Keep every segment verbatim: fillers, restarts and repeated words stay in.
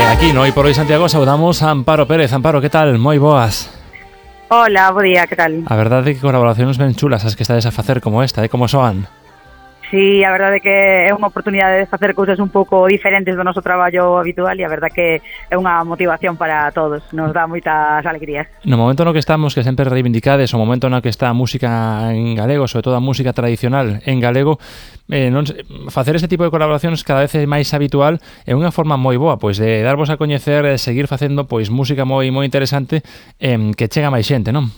aquí no Hoy por Hoy Santiago saudamos a Amparo Pérez. Amparo, que tal? Moi boas. Hola, bo día, que tal? A verdade é que colaboracións ben chulas as que estades a facer como esta, eh? Como soan? Sí, a verdade é que é unha oportunidade de facer cousas un pouco diferentes do noso traballo habitual e a verdade que é unha motivación para todos, nos dá moitas alegrías. No momento no que estamos, que sempre reivindicades, o momento no que está a música en galego, sobre todo a música tradicional en galego, eh, non sei, facer este tipo de colaboracións cada vez é máis habitual, é unha forma moi boa, pois de darvos a coñecer, de seguir facendo pois música moi moi interesante, eh, que chega máis xente, non?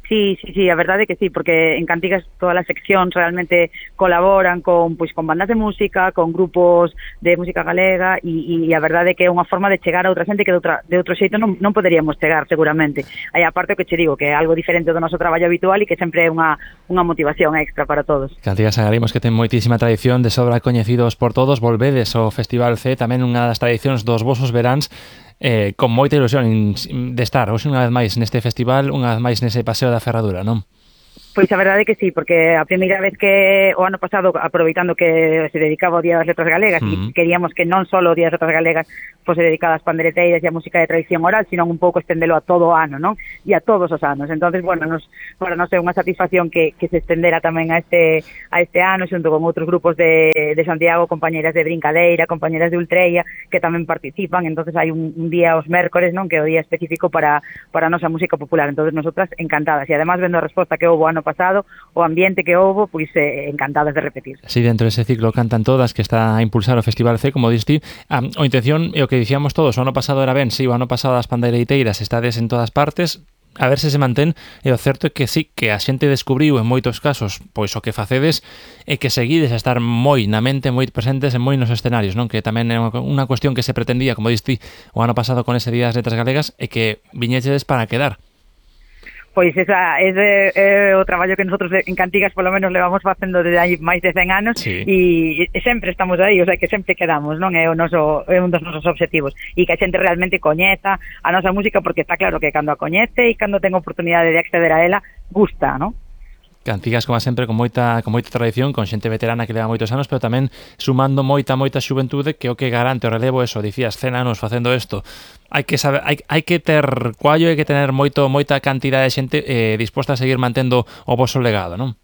Sí, sí, sí, a verdade é que sí, porque en Cantigas todas as seccións realmente colaboran con pois con bandas de música, con grupos de música galega e, e a verdade é que é unha forma de chegar a outra xente que de, outra, de outro xeito non, non poderíamos chegar seguramente. Aí aparte o que che digo, que é algo diferente do noso traballo habitual e que sempre é unha, unha motivación extra para todos. Cantigas Agarimos, que ten moitísima tradición, de sobra coñecidos por todos, volvedes ao Festival C, tamén unha das tradicións dos vosos veráns, Eh, con moita ilusión de estar hoxe unha vez máis neste festival, unha vez máis nese paseo da Ferradura, non? Pois a verdade é que sí, porque a primeira vez que o ano pasado, aproveitando que se dedicaba ao Día das Letras Galegas, uh-huh. e queríamos que non só o Día das Letras Galegas fose dedicado ás pandereteiras e a música de tradición oral, sino un pouco estendelo a todo o ano, non? E a todos os anos. Entonces, bueno, nos, para nos é unha satisfacción que, que se estendera tamén a este a este ano, xunto con outros grupos de, de Santiago, compañeras de Brincadeira, compañeras de Ultreia, que tamén participan. Entonces hai un, un día os mércores, non? Que é o día específico para, para a nosa música popular. Entonces, nosotras encantadas. E además, vendo a resposta que houve ano pasado, o ambiente que houve, pois eh, encantadas de repetir. Si, sí, dentro dese ciclo Cantan Todas, que está a impulsar o Festival C, como diste, a, a intención e o que dicíamos todos, o ano pasado era ben, si, o ano pasado as pandeireiteiras estades en todas partes, a ver se se mantén, e o certo é que sí, que a xente descubriu en moitos casos, pois o que facedes é que seguides a estar moi na mente, moi presentes en moi nos escenarios, non? Que tamén é unha cuestión que se pretendía, como diste, o ano pasado con ese Día das Letras Galegas, e que viñeches para quedar. Pois esa é, é o traballo que nosotros en Cantigas polo menos levamos facendo desde hai máis de cen anos, sí. e, e sempre estamos aí, o sea que sempre quedamos, non? É o noso é un dos nosos obxectivos e que a xente realmente coñeza a nosa música, porque está claro que cando a coñece e cando ten oportunidade de acceder a ela, gusta, non? Cantigas, como sempre, con moita con moita tradición, con xente veterana que leva moitos anos, pero tamén sumando moita, moita xuventude, que o que garante o relevo, eso, dicías, cen anos facendo isto. Hai que saber, hai, hai que ter cuallo, hai que tener moito moita cantidade de xente eh, disposta a seguir mantendo o voso legado, non?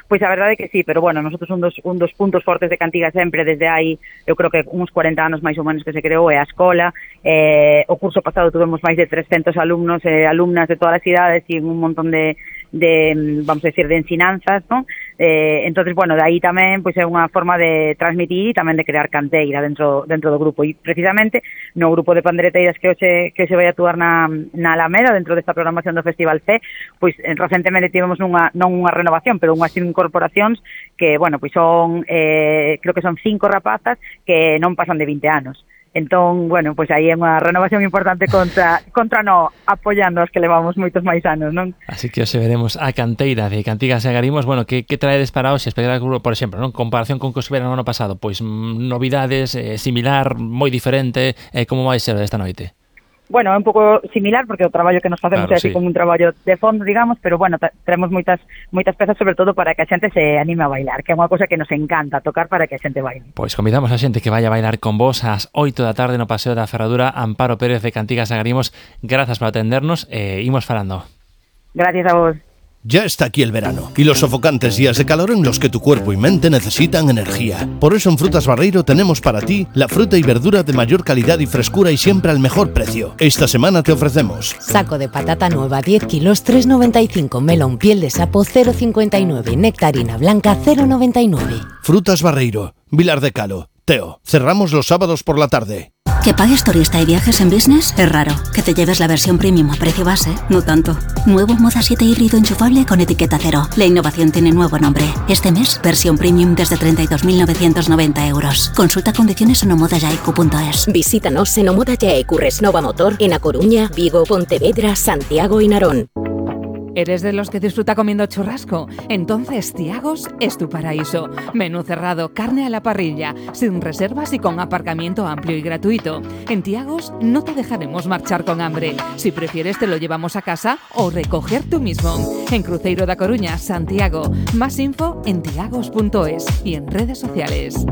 Pois a verdade é que sí, pero bueno, nosotros un dos, un dos puntos fortes de Cantigas sempre, desde hai, eu creo que uns cuarenta anos máis ou menos que se creou, é a escola. Eh, o curso pasado tuvemos máis de trescentos alumnos e eh, alumnas de todas as idades e un montón de, de vamos a decir, de ensinanzas, ¿no? Eh, entonces, bueno, de aí tamén pois é unha forma de transmitir e tamén de crear canteira dentro dentro do grupo. E precisamente no grupo de pandereteiras que hoxe que se vai actuar na, na Alameda, dentro desta programación do Festival C, pois recentemente tivemos unha, non unha renovación, pero unhas incorporacións que, bueno, pois son, eh, creo que son cinco rapazas que non pasan de vinte anos. Entón, bueno, pois aí é unha renovación importante contra contra no apoiando as que levamos moitos máis anos, non? Así que hoxe veremos a canteira de Cantigas e Agarimos. Bueno, que, que traedes para hoxe? Espectáculo, por exemplo, non? Comparación con que os verán no ano pasado, pois novidades, eh, similar, moi diferente, eh, como vai ser esta noite? Bueno, é un pouco similar, porque o traballo que nos facemos claro, é así sí. como un traballo de fondo, digamos, pero bueno, traemos moitas moitas pezas, sobre todo para que a xente se anime a bailar, que é unha cosa que nos encanta tocar para que a xente baile. Pois convidamos a xente que vaya a bailar con vos ás oito da tarde no Paseo da Ferradura. Amparo Pérez de Cantigas e Agarimos, grazas por atendernos e eh, imos falando. Gracias a vos. Ya está aquí el verano y los sofocantes días de calor en los que tu cuerpo y mente necesitan energía. Por eso en Frutas Barreiro tenemos para ti la fruta y verdura de mayor calidad y frescura y siempre al mejor precio. Esta semana te ofrecemos saco de patata nueva diez kilos tres noventa y cinco, melón piel de sapo cero cincuenta y nueve, nectarina blanca cero noventa y nueve. Frutas Barreiro, Vilar de Calo, Teo. Cerramos los sábados por la tarde. ¿Que pagues turista y viajes en business? Es raro. Que te lleves la versión premium a precio base, no tanto. Nuevo Moda siete híbrido enchufable con etiqueta cero. La innovación tiene nuevo nombre. Este mes, versión premium desde treinta y dos mil novecientos noventa euros. Consulta condiciones en omodayaiku punto es. Visítanos en Omodayaiku Resnova Motor en A Coruña, Vigo, Pontevedra, Santiago y Narón. ¿Eres de los que disfruta comiendo churrasco? Entonces Tiagos es tu paraíso. Menú cerrado, carne a la parrilla, sin reservas y con aparcamiento amplio y gratuito. En Tiagos no te dejaremos marchar con hambre. Si prefieres te lo llevamos a casa o recoger tú mismo. En Cruzeiro da Coruña, Santiago. Más info en tiagos punto es y en redes sociales.